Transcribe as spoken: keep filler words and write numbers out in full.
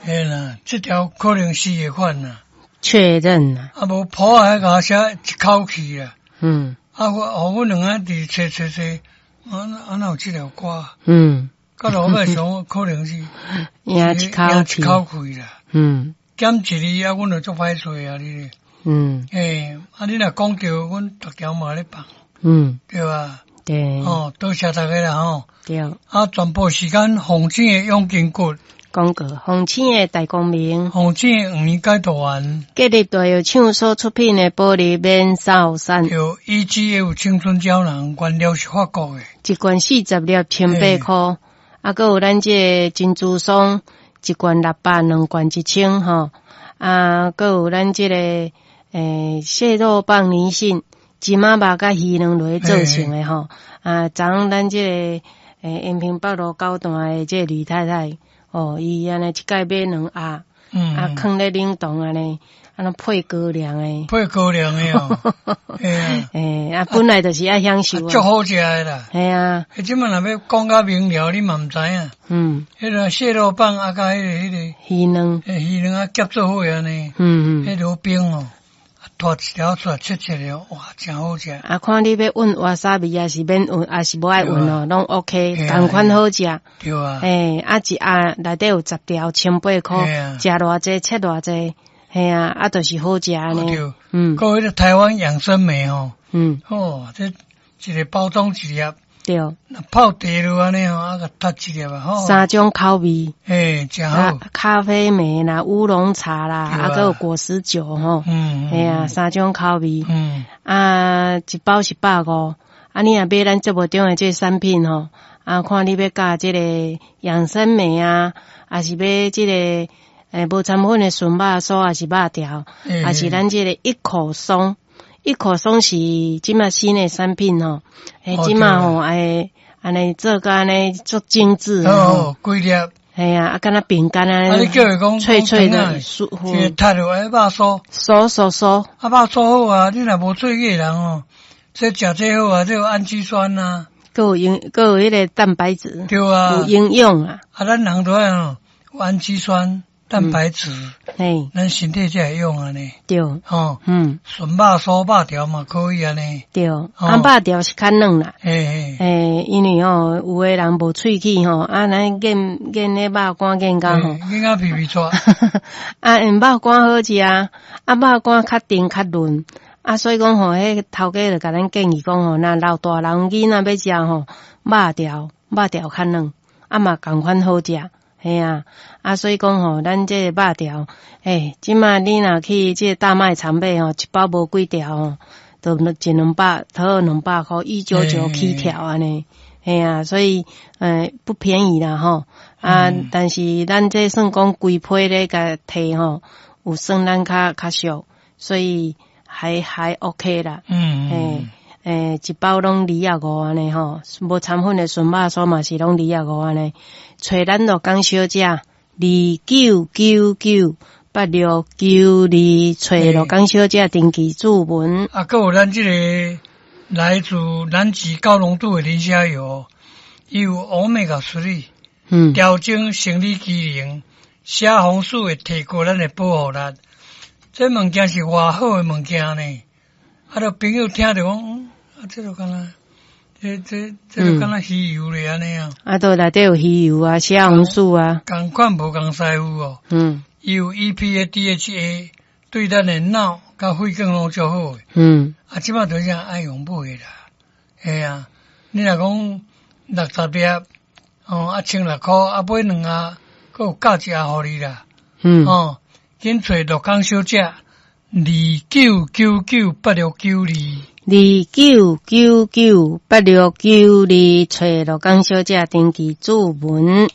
嘿啦，這條可能四個款啦。確認啦。啊，無譜還共寫一口氣啦。嗯。啊，我，予阮兩个佇揣揣揣，啊啊哪有這條歌？嗯。到落尾想可能是贏一口氣。一口氣啦。嗯。減一字啊，阮就足歹揣啊，你。嗯。欸，啊，你若講著，阮逐條嘛咧放。嗯。對吧？對。哦，多謝大家啦，吼。對。啊，全部時間鳳醒的養筋骨。廣告，鳳醒的大光明。鳳醒的黃連解毒丸。吉利大藥廠所出品的保利免掃散。對，E G F 青春膠囊，原料是法國的。一罐四十粒，千八箍。啊，閣有咱這個珍珠霜，一罐六百，兩罐一千吼。啊，閣有咱這個欸蟹肉棒泥信，芝麻肉佮魚卵落做成的吼。啊，昨昏咱這個欸延平北路九段的這個呂太太。哦，伊按呢一擺買兩盒，嗯，啊，囥咧冷凍按呢，按呢配高粱的，配高粱的哦，欸，啊，本來就是愛享受，足好食的啦，嘿啊，彼這馬若欲講較明了，你嘛毋知影，嗯，彼個蟹肉棒啊，佮彼個彼個魚卵，魚卵啊夾做伙按呢，嗯嗯，彼落冰哦。拖一條出來切切了，哇，誠好食。啊，看你欲塭瓦薩比，抑是免塭，抑是無愛塭哦，攏 OK，仝款好食。對啊。欸，啊一盒內底有十條，千八箍，食偌濟切偌濟，嘿啊，啊就是好食按呢。對。嗯。閣彼個台灣養生莓吼。嗯。哦，這一個包裝一粒。對。泡茶落按呢吼，啊共踢一粒啊，吼。三種口味。欸，誠好。咖啡莓啦，烏龍茶啦，啊，閣有果實酒吼。嗯。嘿啊，三種口味。嗯。啊，一包是百五。啊，你若買咱節目中的這個產品吼，啊，看你欲佮這個養生莓啊，抑是買這個欸無摻粉的純肉酥，抑是肉條，抑是咱這個一口鬆。一口鬆是這馬新的產品吼，欸，這馬吼，欸，按呢做甲按呢足精緻哦，幾粒？嘿啊，啊，敢若餅乾啊，你叫伊講脆脆的，酥，這個踢落來肉酥，酥酥酥，啊，肉酥好啊，你若無喙齒的人哦，這食這好啊，這有氨基酸啊，閣有營，閣有彼個蛋白質，對啊，有營養啊。啊，咱人都愛哦，有氨基酸。蛋白質，嘿，咱身體才會用按呢。對，吼，嗯，純肉酥肉條嘛可以按呢。對，啊，肉條是較軟啦。嘿嘿，因為吼，有的人無喙齒吼，啊，咱咽咽彼肉乾咽甲吼，咽甲皮皮剉。啊，因肉乾好食啊，啊，肉乾較甜較潤，啊，所以講吼，彼頭家就共咱建議講吼，若老大人囡仔欲食吼，肉條肉條較軟，啊嘛仝款好食。嘿啊，啊，所以講吼，咱這個肉條，欸，這馬你若去這個大賣場買吼，一包無幾條吼，都一兩百，差兩百箍，一九九起跳按呢。嘿啊，所以，欸，不便宜啦吼。啊，嗯、但是咱這算講規批咧共提吼，有算咱較較俗，所以還還 OK 啦。嗯欸欸，一包攏二十五按呢吼，無摻粉的純肉酥嘛是攏二十五按呢。揣咱鹿港小姐二九九九八六九二，揣鹿港小姐登記注文。啊，閣有咱這個來自南極高濃度的磷蝦油，伊有 Omega 三，嗯，調整生理機能，蝦紅素會提高咱的保護力。這物件是偌好的物件呢？啊，著朋友聽著講，啊，這就敢若，這這這就敢若魚油咧按呢啊。啊，都內底有魚油啊，蝦紅素啊。仝款無仝師傅哦。嗯。伊有 E P A、D H A，對咱的腦佮血管攏足好的。嗯。啊，這馬就是愛用買的啦。嘿啊，你若講六十粒，哦，啊千六箍，啊買兩盒，閣有加一盒予你啦。嗯。哦，緊揣鹿港小姐。二九九九八六九二，二九九九八六九二，揣鹿港小姐登記注文。